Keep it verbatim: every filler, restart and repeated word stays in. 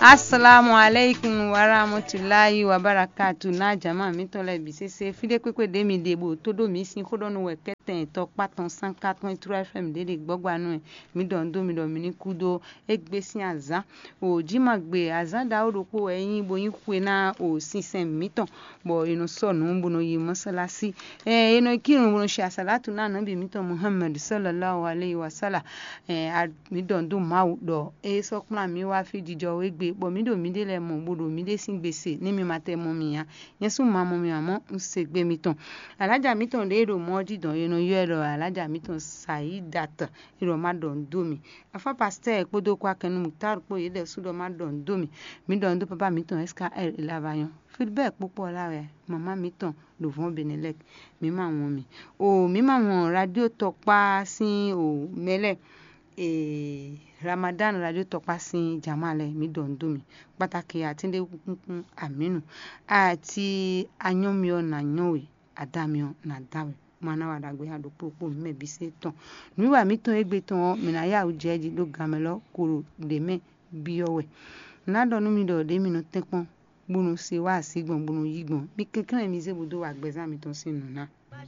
Assalamu alaikum warahmatullahi wabarakatu. Na jama mitɔn lɛ bi sese fi ɖe kpekpe ɖe mi ɖe bo to ɖo mi sin xó ɖɔ nu wɛ kɛtɛn tɔkpa tɔn sanka tɔn True F M ɖe ɖe gbɔgba nu ɛ. Mi ɖɔ ndo mi ɖɔ mi ní kú ɖó egbe sin azan. O ji ma gbe azan ɖawo ɖokpo wɛ nyi bo nyi xwe na o sinsɛn mitɔn, bɔ e nɔ sɔ nǔ bo nɔ yi mɔsálásí. Ɛ e nɔ kírun bo nɔ shi asalatu na nɔbi mitɔn Muhammad sallallahu alaihi wasallam. Ɛ mi ɖɔ ndo Mawu ɖɔ e sɔ kplɔn mi wá fi jijɔ wegbe, bɔ mi ɖo mi ɖe lɛ mɔ bo ɖo mi ɖe sin gbese ne mi ma tɛ mɔ mi nya. Nyɛ sú ma mɔ mi amɔ un se gbe mitɔn. Alaja mitɔn ɖe ɖo mɔ jí dɔn e nɔ yɔ ɛ ɖɔ alaja mitɔn Sayidat. E ɖɔ ma ɖɔ ndo mi. Afa pasteur kpódó kwa kɛnu Mutar kpó yě ɖɛ sú ɖɔ ma ɖɔ ndo mi. Mi ɖɔ ndo papa mitɔn S K L Lavagnon. Filbert kpókpó la wɛ mama mitɔn ɖo vɔn Benelek. Mi ma wɔn mi. O mi ma wɔn radio tɔkpa sín o mɛlɛ. E Ramadan radio tɔkpa sín jama lɛ mi ɖɔ ndo mi. Kpataki atin ɖe kúnkún aminu. Ati anyɔ mi ɔ na nyɔ we, ada mi ɔ na da we. Mana wa ɖagbe ha ɖokpó kpó mɛ bi se tɔn. Nǔwiwa mitɔn égbé tɔn ɔ́, mǐ ná yá wǔ jɛ jí ɖó ganmɛ lɔ kolo ɖě mɛ byɔ́ wɛ. Nǎ ɖɔ nú mi ɖɔ ɖě mi nɔ tɛ́nkpɔ́n, bó nɔ se wá así gbɔn, bó nɔ yí gbɔn. Mi kɛnklɛ́n mi zé bó dó wa gbɛzán mitɔn sín nǔ ná.